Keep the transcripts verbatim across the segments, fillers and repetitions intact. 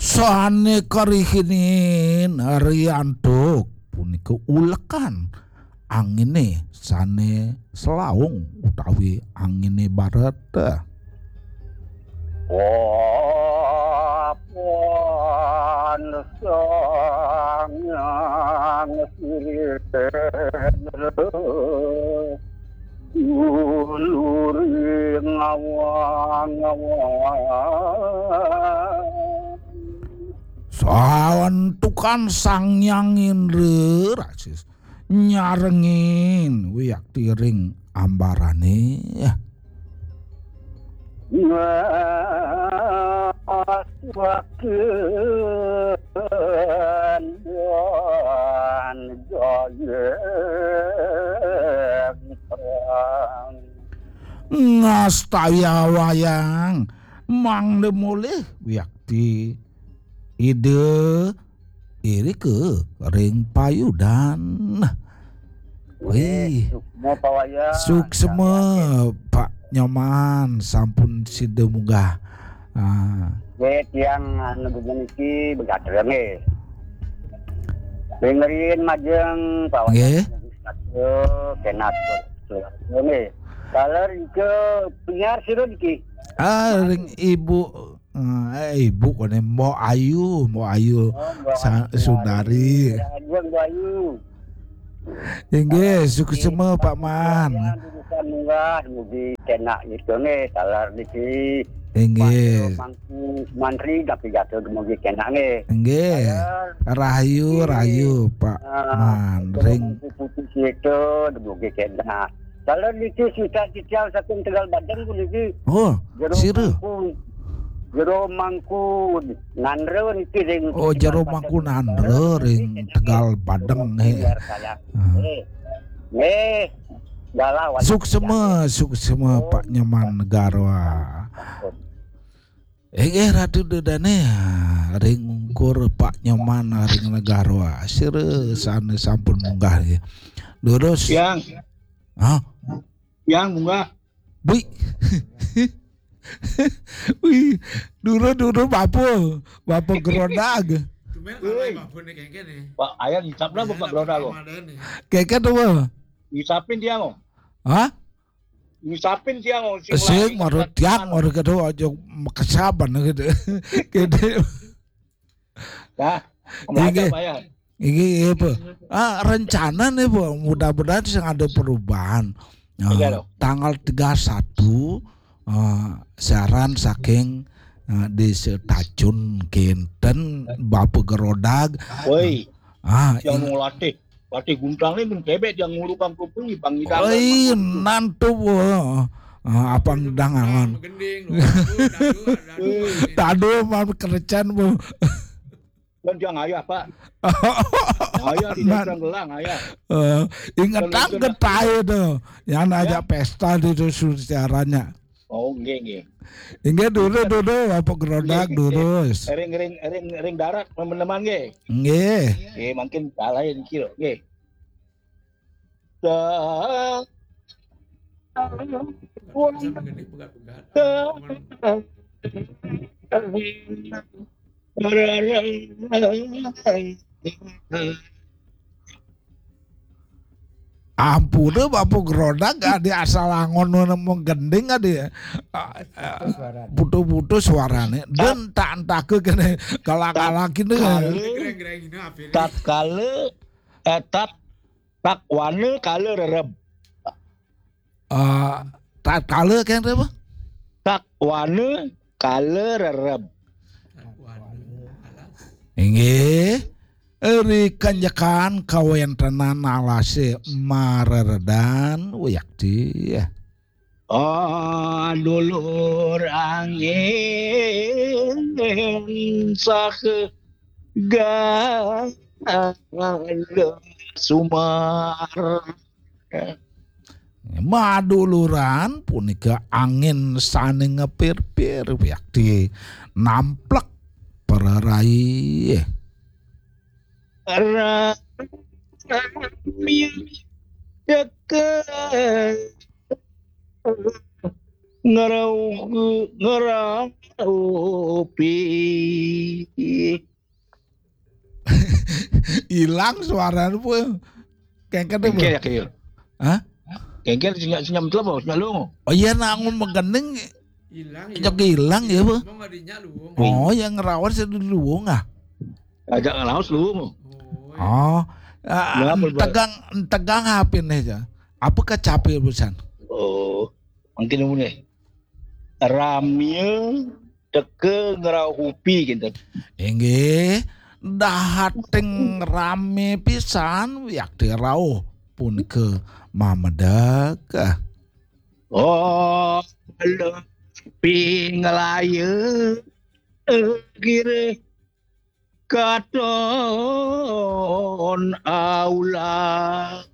Sané karihinin riantuk punika ulekan anginé sané selaung utawi anginé baret. Papan sangang sirih dulur ngawang-ngawang. Sawentukan Sang Hyang Indra rasis nyarengin wiakti ring ambarané. Ngasuaken dan gayeng perang. Ngastaya wayang mangda molih wiakti Ida irika ring payudan. Wih, suksma Pak Wayang. Suksma Pak Nyoman sampun sida munggah. Ah. Nggih, tiang anu niki begatra nggih. Dengerin majeng Pak Wayang. Nggih. Satu, kenat. Nggih. Kalau ke penyiar sira niki. Ah, ring Ibu, eh, Ibu koné Mbok Ayu, Mbok Ayu. Oh, Mbok Sa-, Ayu. Sundari. Aduh, Mbok Ayu. Inggih, suksma Pak Man. Bukan munggah, mugi kenak gitu nggih, taler niki. Inggih. Pak Mangku Mantri tapi jatuh mugi kenak nggih. Inggih. Taler. Rahayu, nggih. Rahayu Pak Ah, Man. Ring Mangku Putih itu mugi kenak. Kalau niki sisa titiang saking Tegal Badeng puniki. Oh, Jero sira. Mangku, Jero Mangku Nandra niki ring Oh, Jero Tegal Mangku Badeng. Nandra ring Tegal Badeng, eh. Biar saya. Ah. Eh. Eh. Galah wajah. Suksma, suksma, oh, Pak Nyoman Negara. Inggih Ratu Dedane, ring ungkur Pak Nyoman ring Negara. Sira sane sampun munggah nggih. Durus. Yang. Hah? Yang munggah. Bui. Wih, dulu-dulu bapa, bapa Gerodag. Tumben kalau bapa ni kengken ni. Pak, ayah ngisap lah bapa Gerodag kok. Kengken tu apa? Ngisapin dia kok. Hah? Ngisapin dia kok. Sing marut tiang marut kado aja kesaban gitu. Gitu. Dah, inggih. Inggih, apa? Ah, rencana nih, Bu. Mudah-mudahan sing ada perubahan. Ah, iya, loh. Tanggal tiga satu, ah, siaran saking, ah, Desa Tacun kenten Bapa Gerodag. Woi. Ah, yang mau latih. Patih Guntang ni mun kebek dia ngulu Bang Kuping, Bang Idang. Oi, nantu, ah, Abang Dangalan. Tadu mah kerecan, Bu. Dan dia ngayah, Pak. Ngayah di Nan- Desa Gelang, ngayah. Eh, ingetang. Dan getahe tu. Yang ajak pesta di tu sucaranya. Oh, nggih, nggih. Inggih, dulu, dulu, apa Gerodak, nggih, nggih, dulu. Ring, ring, ring, ring darat, teman-teman, nggih. Nggih. Nggih, mungkin salah ya, niki, nggih. Sa-, Ampune, Bapak Gerodak, adi asal angon nemu gending, adi. Ah, ah, putus-putus suarane. Dan tak entah ke kene kalah-kalah kene. Tatkala, eh, tat-, takwana kala rereb. Ah, tatkala kene apa? Takwana kala rereb. Inggih, ri kanjekan kawentenan alase mareredan wiakti. Ah, dulur angin saha gala sumar. Maduluran punika angin sane ngepir-pir wiakti namplek prarai. Rami deket Ngerauh, ngeraupi. Hilang suarane, Pul. Kengken deh, Pul. Kengken ya, Kil? Hah? Kengken senyap, senyap telah, Bos, senyap lu. Oh iya, nangun megening. Hilang, ya. Jok hilang ya, Pul. Ngomong adiknya lu. Oh, yang ngerawat saya dulu, ah. Ajak ngelawas lu. Oh, iya. Oh, ah, tegang, tegang apa nih, ya? Apa kecapi pisan? Oh, mungkin ini. Ramie teka ngeraupi kinten. Inggih, dahating rame pisan wiakti rauh punika mamedek. Oh, lepi ngelaya, eh, kira katon aula.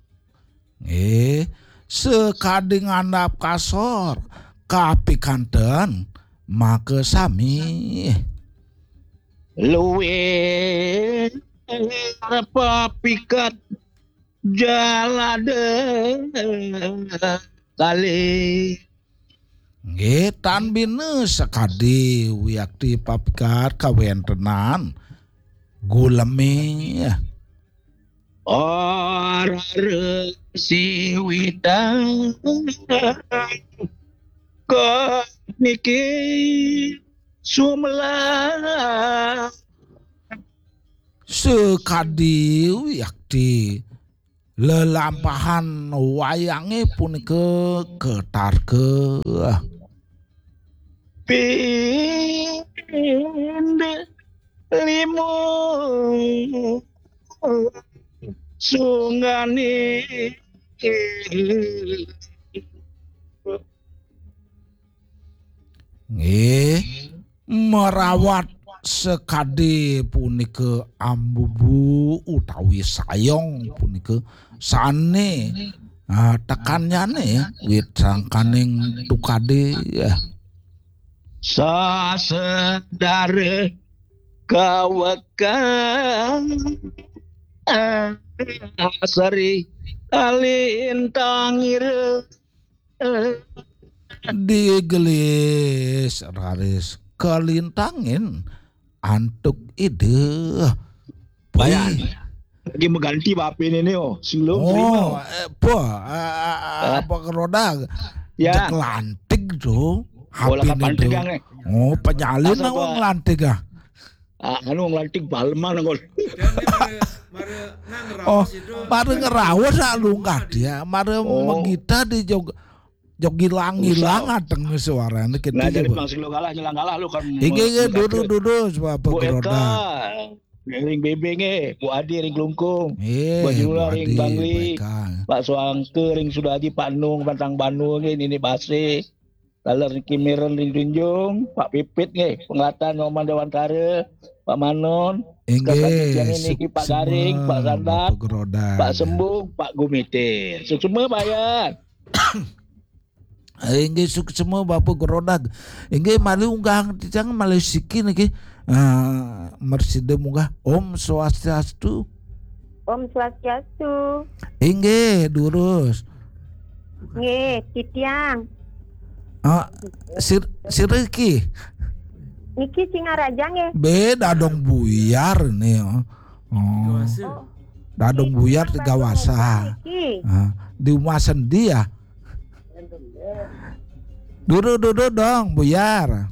Nggih, sakadi ngandap kasor, kapikanten makasami. Luwih papikat jalada kalih. Nggih, tan bina sakadi wiakti papikat kawentenan guleme. Arara siwitan ka niki sumelang. Sakadi wiakti lelampahan wayange punika katarka. Pind limo sunggane. Nggih, merawat sakadi punika ambubu utawi sayong punika sane, ah, tekannyane wit sangkaning tukade, ya. Sasedare kawekan seri kalintangira. Digelis raris kalintangin antuk Ida. Bayan. Lagi mengganti bape ini, oh. Sing lom terima. Oh, eh, apa, eh, eh, eh, apa keroda? Ya. Cek lantik tuh. Oh, lakat hapine lantik tuh. Yang, eh. Oh, penyalin. Asa apa? Lantik ah. Ah, anu nglantik baleman kok. Dan ini mare, mare nang. Oh, raos itu. Mare ngeraos sak lungkah dia, mare. Oh. Menggita di jog, jog hilang-hilang. Usah. Ateng suarane gitu. Nah, ya, jadi Bu. Masih lo kalah, nyelang kalah lo kan. Inggih, inggih, duduk, duduk, sebab Bu Eka, Ronda. Ring Bebe nggih, Bu Adi ring Klungkung. Iya, Bu Jula Bu ring Adi, Bangli. Bu Eka. Pak Suangke ring Sudaji, Pak Nung, Pantang Banu nggih, Nini Base. Taler niki Miren ring Tunjung, Pak Pipit nggih, penglatan Nyoman Dewantara, Pak Manon, inggih, sekarang niki Pak Garing, Pak Sandar, Bapak Gerodak. Pak Sembung, Pak Gumite. Suksma, Pak Yan. Inggih, suksma Bapak Gerodak. Inggih, malih unggahang titiang malih siki niki. Ah, mresida munggah. Om Swastiastu. Om Swastiastu. Inggih, durus. Nggih, titiang. Ah, sir-, sira iki? Niki Singaraja nggih. Beda dong Buyar nih, oh. Oh. Dadong Buyar Tiga Wasa. Niki. Ah, di rumah sendi ya. Duduk, duduk dong, Buyar.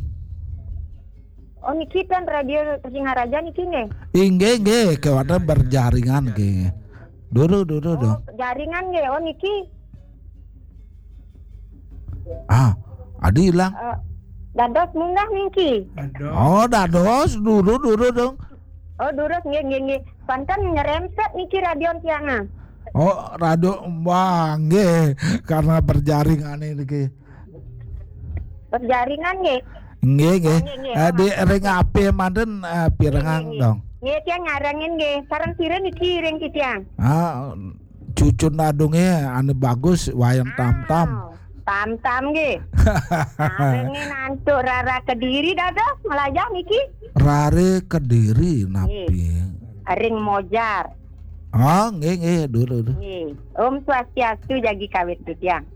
Oh, niki kan radio Singaraja niki nggih? Inggih, nggih, kewaten berjaringan nggih. Duduk, duduk dong. Oh, jaringan nggih. Oh, niki. Ah, adi hilang. Eh, dados munggah niki. Aduh. Oh, dados, duduk, duduk dong. Oh, durus nggih, nggih, nggih. Panten nyerempet niki radio tiang, ah. Oh, radio, wah, nggih, karena berjaringan niki. Berjaringan nggih. Nggih, nggih. Oh, nggih, nggih. Eh, di ring H P manten, eh, pirengang dong. Nggih, nggih. Nggih, tiang nyarengin nggih. Sareng sira niki ring titiang? Ah, cucun adunge anu bagus, Wayan Tamtam. Ah, Tamtam nggih. Sarengin antuk Rara Kediri dados melajah niki. Rare Kediri napi? Nggih. Ring Mojar. Ah, nggih, nggih, dulu, dulu. Nggih. Om Swastiastu, jagi kawit titiang.